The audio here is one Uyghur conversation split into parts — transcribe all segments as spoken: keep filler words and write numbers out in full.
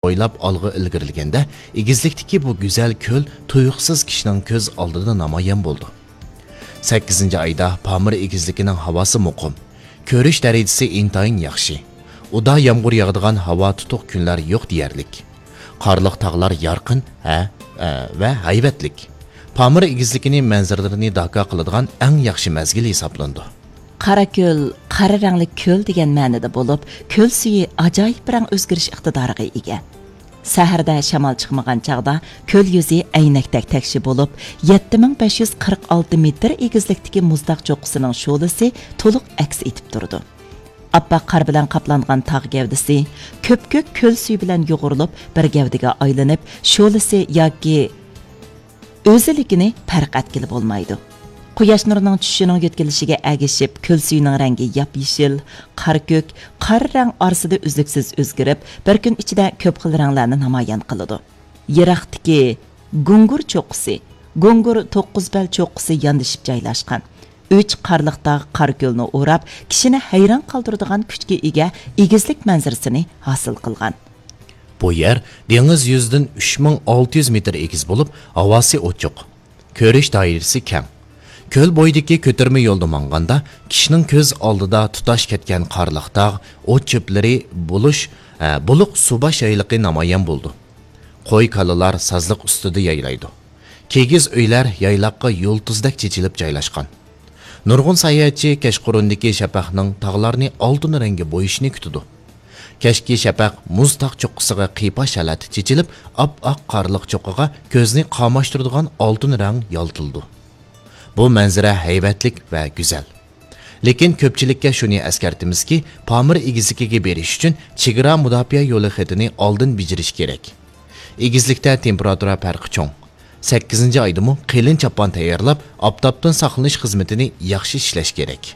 بويلاپ ئالغا ئىلگىرىلىگەندە، ئېگىزلىكتىكى بۇ گۈزەل كۆل تۇيۇقسىز كىشىنىڭ كۆز ئالدىدا نامايان بولىدۇ. سەككىزىنچى ئايدا پامىر ئېگىزلىكىنىڭ ھاۋاسى مۇقىم، كۆرۈش دەرىجىسى ئىنتايىن ياخشى. ئۇدا يامغۇر ياغىدىغان ھاۋا تۇتۇق كۈنلەر يوق دېيەرلىك. قارلىق تاغلار يارقىن، ھە، ئە، ۋە ھەيۋەتلىك. پامىر ئېگىزلىكىنى مەنزىرىلىرىنى داكا قىلىدىغان ئەڭ ياخشى مەزگىل ھېسابلىنىدۇ. قارا كۆل، قارا رەڭلىك كۆل دېگەن مەنىدە بولۇپ، كۆل سۈيى ئاجايىپ رەڭ ئۆزگىرىش ئىقتىدارىغا ئىگە. سەھەردە شامال چىقمىغان چاغدا كۆل يۈزى ئەينەكتەك تەكشى بولۇپ، يەتتە مىڭ بەش يۈز قىرىق ئالتە مېتىر ئېگىزلىكتىكى مۇزتاغ چوققىسىنىڭ شولىسى تولۇق ئەكس ئېتىپ تۇرىدۇ. ئاپئاق قار بىلەن قاپلانغان تاغ گەۋدىسى كۆپكۆك كۆل سۈيى بىلەن يۇغۇرۇلۇپ، بىر گەۋدىگە ئايلىنىپ، شولىسى ياكى ئۆزىلىكىنى پەرق ئەتكىلى بولمايدۇ. قۇياش نۇرىنىڭ چۈشۈشىنىڭ يۆتكىلىشىگە ئەگىشىپ، كۆل سۈيىنىڭ رەڭگى ياپيېشىل، قارا كۆك، قارا رەڭ ئارىسىدا ئۈزلۈكسىز ئۆزگىرىپ، بىر كۈن ئىچىدە كۆپ خىل رەڭلەرنى نامايان قىلىدۇ. يىراقتىكى گۇڭگۇر چوققىسى، گۇڭگۇر توققۇز بەل چوققىسى ياندىشىپ جايلاشقان. ئۈچ قارلىق تاغ قارا كۆلنى ئوراپ، كىشىنى ھەيران قالدۇرىدىغان كۈچكە ئىگە ئېگىزلىك مەنزىرىسىنى ھاسىل قىلغان. بۇ يەر دېڭىز يۈزىدىن ئۈچ مىڭ ئالتە يۈز مېتىر ئېگىز بولۇپ، ھاۋاسى ئوچۇق، كۆرۈش دائىرىسى كەڭ. كۆل بويىدىكى كۆتۈرمە يولدا ماڭغاندا، كىشىنىڭ كۆز ئالدىدا تۇتاش كەتكەن قارلىق تاغ، ئوت چۆپلىرى، بولۇش، ئە، بۇلۇق سۇباش يايلىقى نامايان بولىدۇ. قوي-كالىلار سازلىق ئۈستىدە يايلايدۇ. كىگىز ئۆيلەر يايلاققا يۇلتۇزدەك چېچىلىپ جايلاشقان. نۇرغۇن ساياھەتچى كەچقۇرۇندىكى شەپەقنىڭ تاغلارنى ئالتۇن رەڭگە بويىشىنى كۈتىدۇ. كەچكى شەپەق مۇز تاغ چوققىسىغا قىيپاش ھالەتتە چېچىلىپ، ئاپئاق قارلىق چوققىغا كۆزنى قاماشتۇرىدىغان ئالتۇن رەڭ يالتىلىدۇ. بۇ مەنزىرە ھەيۋەتلىك ۋە گۈزەل. لېكىن كۆپچىلىككە شۇنى ئەسكەرتىمىزكى، پامىر ئېگىزلىكىگە بېرىش ئۈچۈن چېگرا مۇداپىئە يولى خېتىنى ئالدىن بېجىرىش كېرەك. ئېگىزلىكتە تېمپېراتۇرا پەرقى چوڭ. سەككىزىنچى ئايدىمۇ قېلىن چاپان تەييارلاپ، ئاپتاپتىن ساقلىنىش خىزمىتىنى ياخشى ئىشلەش كېرەك.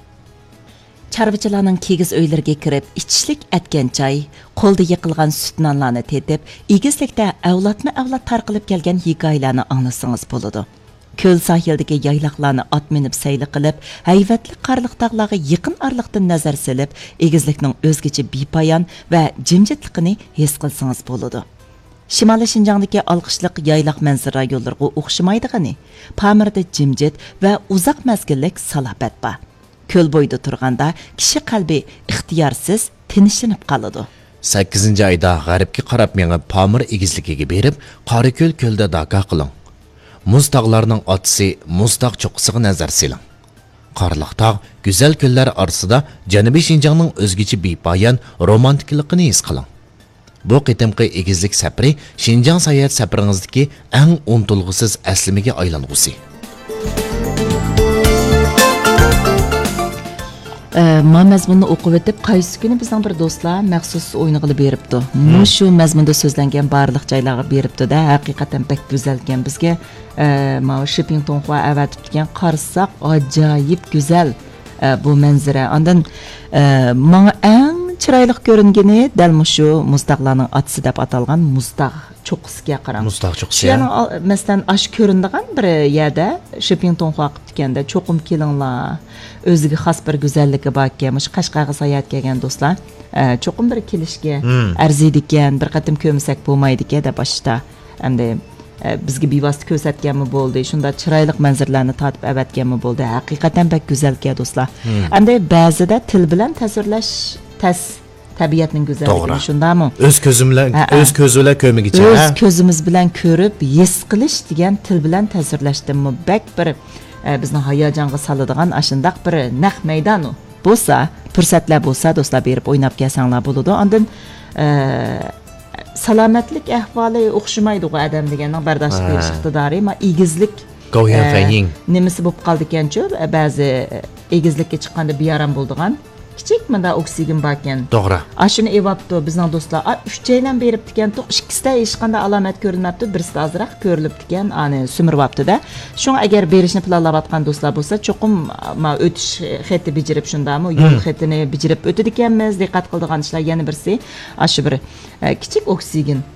چارۋىچىلارنىڭ كىگىز ئۆيلىرىگە كىرىپ، ئىچىشلىك ئەتكەن چاي، قولدا يېقىلغان سۈت نانلارنى تېتىپ، ئېگىزلىكتە ئەۋلادمۇ ئەۋلاد تارقىلىپ كەلگەن ھېكايىلەرنى ئاڭلىسىڭىز بولىدۇ. كۆل ساھىلدىكى يايلاقلارنى ئات مىنىپ سەيلە قىلىپ، ھەيۋەتلىك قارلىق تاغلارغا يېقىن ئارىلىقتىن نەزەر سېلىپ، ئېگىزلىكنىڭ ئۆزگىچە بىپايان ۋە جىمجىتلىقىنى ھېس قىلسىڭىز بولىدۇ. شىمالىي شىنجاڭدىكى ئالقىشلىق يايلاق مەنزىرە رايونلىرىغا ئوخشىمايدىغىنى، پامىردا جىمجىت ۋە ئۇزاق مەزگىللىك سالاپەت بار. كۆل بويىدا تۇرغاندا، كىشى قەلبى ئىختىيارسىز تىنچلىنىپ قالىدۇ. سەككىزىنچى ئايدا غەربكە قاراپ مېڭىپ، پامىر ئېگىزلىكىگە بېرىپ، قاراكۆل كۆلىدە داكا قىلىڭ. مۇز تاغلارنىڭ ئاتىسى مۇز تاغ چوققىسىغا نەزەر سېلىڭ. قارلىق تاغ، گۈزەل كۆللەر ئارىسىدا جەنۇبىي شىنجاڭنىڭ ئۆزگىچە بىپايان رومانتىكىلىقىنى ھېس قىلىڭ. بۇ قېتىمقى ئېگىزلىك سەپىرى شىنجاڭ ساياھەت سەپىرىڭىزدىكى ئەڭ ئۇنتۇلغۇسىز ئەسلىمىگە ئايلانغۇسى. ئە، ما مەزمۇننى ئوقۇۋېتىپ، قايسى كۈنى بىزنىڭ بىر دوستلار مەخسۇس ئوينىغىلى بېرىپتۇ. مۇشۇ مەزمۇندا سۆزلەنگەن بارلىق جايلارغا بېرىپتۇ-دە، ھەقىقەتەن بەك گۈزەلكەن. بىزگە، ئە، ماۋۇ شىپىڭ تۇڭخۇا ئەۋەتىپتىكەن، قارىساق ئاجايىپ گۈزەل، ئە، بۇ مەنزىرە. ئاندىن، ئە، ماڭا ئەڭ چىرايلىق كۆرۈنگىنى دەل مۇشۇ مۇز تاغلارنىڭ ئاتىسى دەپ ئاتالغان مۇز تاغ چوققىسىكەن، قاراڭ. مۇز تاغ چوققىسى، شۇ يەرنىڭ ئال-، مەسىلەن، ئاشۇ كۆرۈنىدىغان بىر يەردە شىپىڭ تۇڭخۇا قىپتىكەن-دە، چوقۇم كېلىڭلار. ئۆزىگە خاس بىر گۈزەللىكى باركەن. مۇشۇ قەشقەرگە ساياھەتكە كەلگەن دوستلار، ئە، چوقۇم بىر كېلىشكە ئەرزىيدىكەن، بىر قېتىم كۆرمىسەك بولمايدىكەن دەپ باشتا. ئەمدى، ئە، بىزگە بىۋاسىتە كۆرسەتكەنمۇ بولدى، شۇنداق چىرايلىق مەنزىرىلەرنى تارتىپ ئەۋەتكەنمۇ بولدى. ھەقىقەتەن بەك گۈزەلكەن دوستلار. ئەمدى بەزىدە تىل بىلەن تەسۋىرلەش تەس. تەبىئەتنىڭ گۈزەللىكىنى، توغرا. شۇنداقمۇ؟ ئۆز كۆزۈم بىلەن، ھەئە. ئۆز كۆزۈم بىلەن كۆرمىگۈچە، ئۆز ھە؟ كۆزىمىز بىلەن كۆرۈپ، ھېس قىلىش دېگەن تىل بىلەن تەسۋىرلەشتىنمۇ بەك بىر، ئە، بىزنى ھاياجانغا سالىدىغان ئاشۇنداق بىر نەق مەيدان ئۇ. بولسا، پۇرسەتلەر بولسا، دوستلار، بېرىپ ئويناپ كەلسەڭلار بولىدۇ. ئاندىن، ئە، سالامەتلىك ئەھۋالى ئوخشىمايدىغۇ ئادەم دېگەننىڭ بەرداشلىق ھە. بېرىش ئىقتىدارى. ما ئېگىزلىك، گاۋيۈەن ئە، فەنيىڭ. نېمىسى بولۇپ قالىدىكەنچۇ، بەزى ئېگىزلىككە چىققاندا بىئارام بولىدىغان. كىچىك مۇنداق ئوكسىگېن باركەن. توغرا. ئاشۇنى ئېۋاپتۇ بىزنىڭ دوستلار. ئا، ئۈچەيلەن بېرىپتىكەنتۇق، ئىككىسىدە ھېچقانداق ئالامەت كۆرۈنمەپتۇ، بىرسىدە ئازراق كۆرۈلۈپتىكەن، ئانى سۈمۈرۈۋاپتۇ-دە. شۇڭا ئەگەر بېرىشنى پىلانلاۋاتقان دوستلار بولسا، چوقۇم، ما، ئۆتۈش خېتى بېجىرىپ شۇنداقمۇ، يول خېتىنى بېجىرىپ ئۆتىدىكەنمىز. دىققەت قىلىدىغان ئىشلار يەنە بىرسى، ئاشۇ بىر، ئە، كىچىك ئوكسىگېن.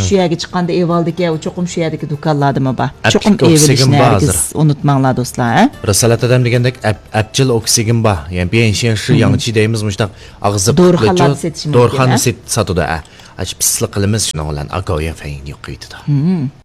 شۇ يەرگە چىققاندا ئېۋالدىكى، ئۇ چوقۇم شۇ يەردىكى دۇكانلاردىمۇ بار. چوقۇم ئەپلىك ئېۋىلىشنى ئوكسىگېن بار ھەرگىز ھازىر. ئۇنتۇماڭلار دوستلار، ھە؟ رىسالەت ئادەم دېگەندەك ئەپ-، ئەپچىل ئوكسىگېن بار. يەنى بىيەنشيەن شى ياڭچى دەيمىز مۇشۇنداق ئاغزى دورىخانلاردا سېتىشى مۇمكىن، دورىخانا ھە؟ سېت-، ساتىدۇ، ھە. ئاچ پىسلىق قىلىمىز شۇنىڭ بىلەن ئاكاۋيەن فەيننى يوقىتىدۇ.